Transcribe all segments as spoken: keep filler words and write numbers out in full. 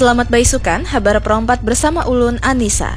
Selamat baisukan, habar perompat bersama ulun Anissa.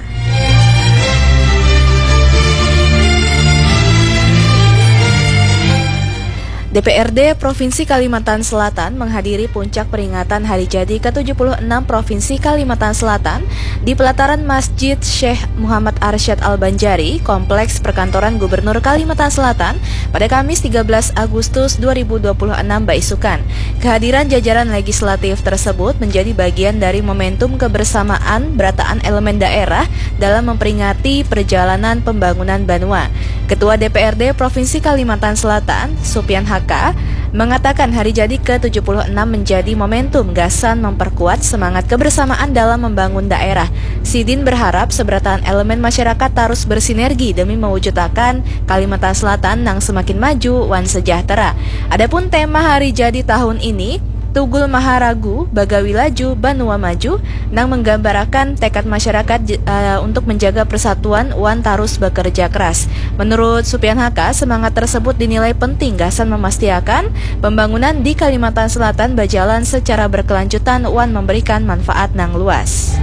D P R D Provinsi Kalimantan Selatan menghadiri puncak peringatan Hari Jadi ke tujuh puluh enam Provinsi Kalimantan Selatan di pelataran Masjid Syekh Muhammad Arsyad Al-Banjari, Kompleks Perkantoran Gubernur Kalimantan Selatan, pada Kamis tiga belas Agustus dua ribu dua puluh enam baisukan. Kehadiran jajaran legislatif tersebut menjadi bagian dari momentum kebersamaan berataan elemen daerah dalam memperingati perjalanan pembangunan banua. Ketua D P R D Provinsi Kalimantan Selatan, Supian Haka, mengatakan Hari Jadi ke tujuh puluh enam menjadi momentum gasan memperkuat semangat kebersamaan dalam membangun daerah. Sidin berharap seberataan elemen masyarakat tarus bersinergi demi mewujudakan Kalimantan Selatan nang semakin maju wan sejahtera. Adapun tema Hari Jadi tahun ini, Tugul Maharagu, Bagawi Laju, Banua Maju, nang menggambarakan tekad masyarakat j- eh, untuk menjaga persatuan wan tarus bekerja keras. Menurut Supian Haka, semangat tersebut dinilai penting gasan memastiakan pembangunan di Kalimantan Selatan berjalan secara berkelanjutan wan memberikan manfaat nang luas.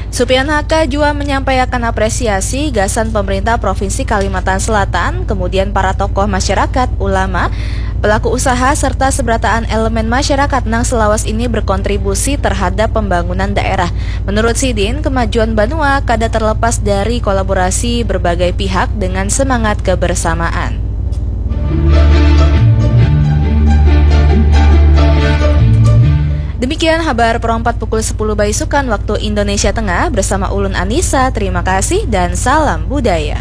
Supian Haka jua menyampaikan apresiasi gasan pemerintah Provinsi Kalimantan Selatan, kemudian para tokoh masyarakat, ulama, pelaku usaha, serta seberataan elemen masyarakat nang selawas ini berkontribusi terhadap pembangunan daerah. Menurut sidin, kemajuan banua kada terlepas dari kolaborasi berbagai pihak dengan semangat kebersamaan. Demikian habar perompat pukul sepuluh baisukan waktu Indonesia Tengah bersama ulun Anissa. Terima kasih dan salam budaya.